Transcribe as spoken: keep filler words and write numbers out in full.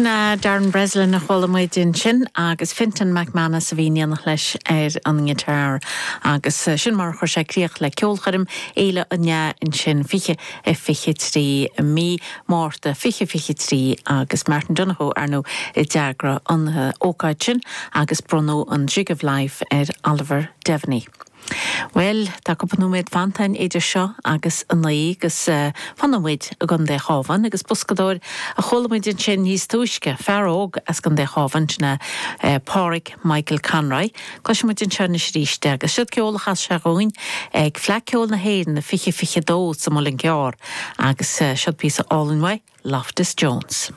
Sin é Darren Breslin a chuala muid ansin agus Fintan McManus a bhí in éineacht leis ar an ngiotár agus sin mar chuir sé críoch le ceolchoirm Fhéile an Fhleadh ansin fiche a fiche trí mí Márta fiche fiche trí agus Martin Donohoe ar ndóigh a d'eagraigh an ócáid sin agus bronnadh an Jig of Life ar Oliver Devaney. Well, tá cúpla nóiméad fanta idir seo agus a naoi agus uh, fanfaidh muid i gContae an Chabháin agus boscadóir a chuala muid ansin níos túisce fear óg as Contae an Chabháin sin uh, Pádraig Michael Conroy. Cloisfimid anseo anois arís agus siod ceol a chas sé dhúinn ag Fleadh Cheoil na hÉireann na fiche fiche dó sa Muileann gCearr agus uh, siod píosa álainn uaidh Loftus Jones.